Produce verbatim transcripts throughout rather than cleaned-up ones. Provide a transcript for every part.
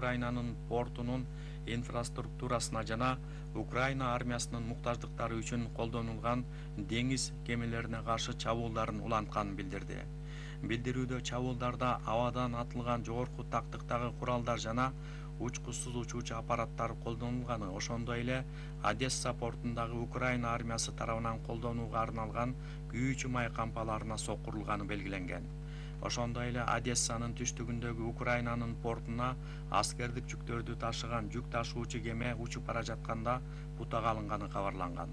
Украинанын портунун инфраструктурасына жана Украина армиясынын муктаждыктары үчүн колдонулган деңиз кемелерине каршы чабуулдарын улантканын билдирди. Билдирүүдө чабуулдарда абадан атылган жогорку тактыктагы куралдар жана учкусуз учуучу аппараттар колдонулганы, ошондой эле Одесса портундагы Украина армиясы тарабынан колдонууга арналган күйүүчү май кампаларына соккурулганы белгиленген. Ошондой эле Одессанын түштүгүндөгү Украинанын портуна аскердик жүктөрдү ташыган жүк ташуучу кеме учуп бара жатканда бутага алынганы кабарланган.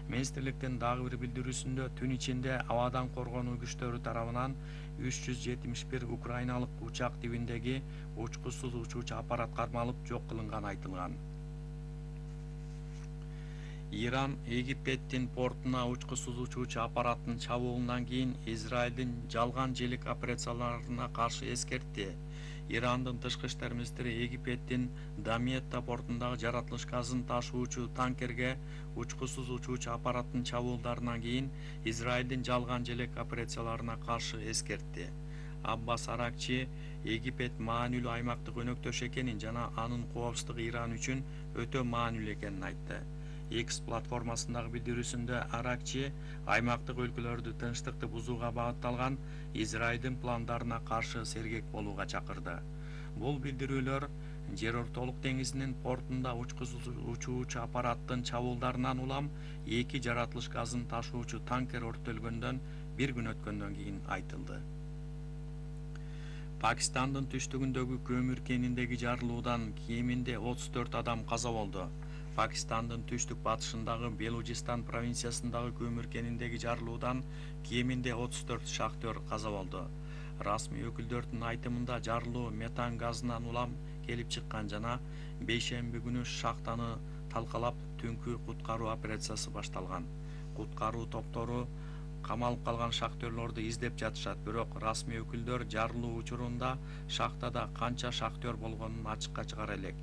Министрликтин дагы бир билдирүүсүндө түн ичинде абадан коргонуу күчтөрү тарабынан үч жүз жетимиш бир украиналык учак тибиндеги учкусуз учуучу аппарат кармалып жок кылынганы айтылган. Иран Египеттин портуна учкусуз учуучу аппараттын чабуулунан кийин Израилдин жалган желек операцияларына каршы эскертти. Ирандын тышкы иштер министри Египеттин Дамиетта портундагы жаратылыш газын ташуучу танкерге учкусуз учуучу аппараттын чабуулдарынан кийин Израилдин жалган желек операцияларына каршы эскертти. Аббас Аракчи Египет маанилүү аймактык өнөктөш экенин жана анын коопсуздугу Иран үчүн өтө маанилүү экенин айтты. X платформасындагы билдирүүсүндө Аракчи аймактык өлкөлөрдү тынчтыкты бузууга багытталган Израилдин пландарына каршы сергек болууга чакырды. Бул билдирүүлөр Жер ортолук деңизинин портунда учкусуз учуучу аппараттын чабуулдарынан улам эки жаратылыш газын ташуучу танкер өрттөлгөндөн бир күн өткөндөн кийин айтылды. Пакистандын түштүгүндөгү көмүр кениндеги жарылуудан кеминде отуз төрт адам каза болду. Пакистандын түштүк батышындагы Белужистан провинциясындагы көмүр кениндеги жарылуудан кеминде отуз төрт шахтер каза болду. Расмий өкүлдөрдүн айтымында жарылуу метан газынан улам келип чыккан жана бейшемби күнү шахтаны талкалап түнкү куткаруу операциясы башталган. Куткаруу топтору камалып калган шахтерлорду издеп жатышат, бирок расмий өкүлдөр жарылуу учурунда шахтада канча шахтер болгонун ачыкка чыгара элек.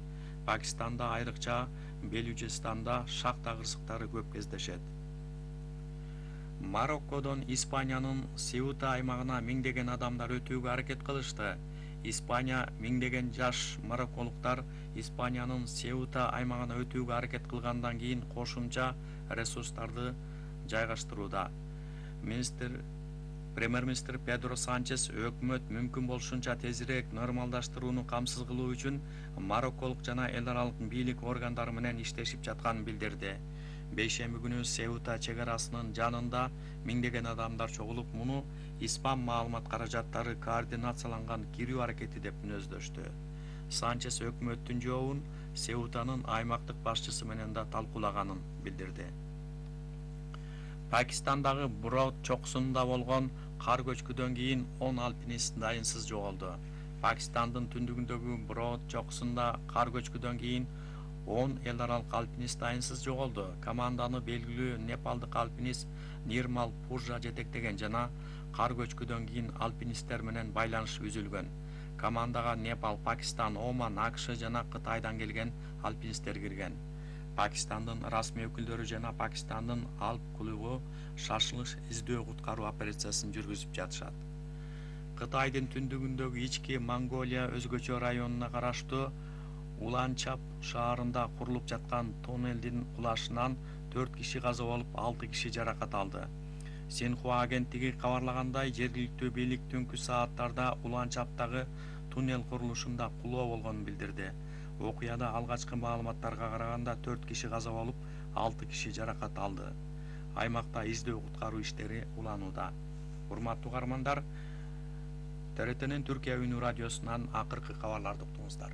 Пакистанда, айрыкча Белужистанда шахта кырсыктары көп кездешет. Мароккодон Испаниянын Сеута аймагына миңдеген адамдар өтүүгө аракет кылышты. Испания миңдеген жаш марокколуктар Испаниянын Сеута аймагына өтүүгө аракет кылгандан кийин кошумча ресурстарды жайгаштырууда. Министр Премьер-министр Педро Санчес өкмөт мүмкүн болушунча тезирээк нормалдаштырууну камсыз кылуу үчүн марокколук жана эл аралык бийлик органдары менен иштешип жатканын билдирди. Бейшемби күнү Сеута чек арасынын жанында миңдеген адамдар чогулуп, муну испан маалымат каражаттары координацияланган кирүү аракети деп мүнөздөштү. Санчес өкмөттүн жообун Сеутанын аймактык башчысы менен да талкуулаганын билдирди. Пакистандагы Брод чокусунда болгон кар көчкүдөн кийин он алпинист дайынсыз жоголду. Пакистандын түндүгүндөгү Брод чокусунда кар көчкүдөн кийин он эл аралык алпинист дайынсыз жоголду. Команданы белгилүү непалдык алпинист Нирмал Пуржа жетектеген жана кар көчкүдөн кийин алпинисттер менен байланыш үзүлгөн. Командага Непал, Пакистан, Оман, АКШ жана Кытайдан келген алпинисттер кирген. Пакистандын расмий өкүлдөрү жана Пакистандын Алп клубу шашылыш издөө куткаруу операциясын жүргүзүп жатышат. Кытайдын түндүгүндөгү ички Монголия өзгөчө районуна караштуу Уланчап шаарында курулуп жаткан тоннелдин кулашынан төрт киши каза болуп, алты киши жаракат алды. Синхуа агенттиги кабарлагандай, жергиликтүү бийлик түнкү сааттарда Уланчаптагы туннел курулушунда кулоо болгонун билдирди. Окуяда алгачкы маалыматтарга караганда төрт киши каза болуп, алты киши жаракат алды. Аймакта издөө куткаруу иштери уланууда. Урматтуу угармандар, Т Р Т'нин Түркия үнү радиосунан акыркы кабарларды уктуңуздар.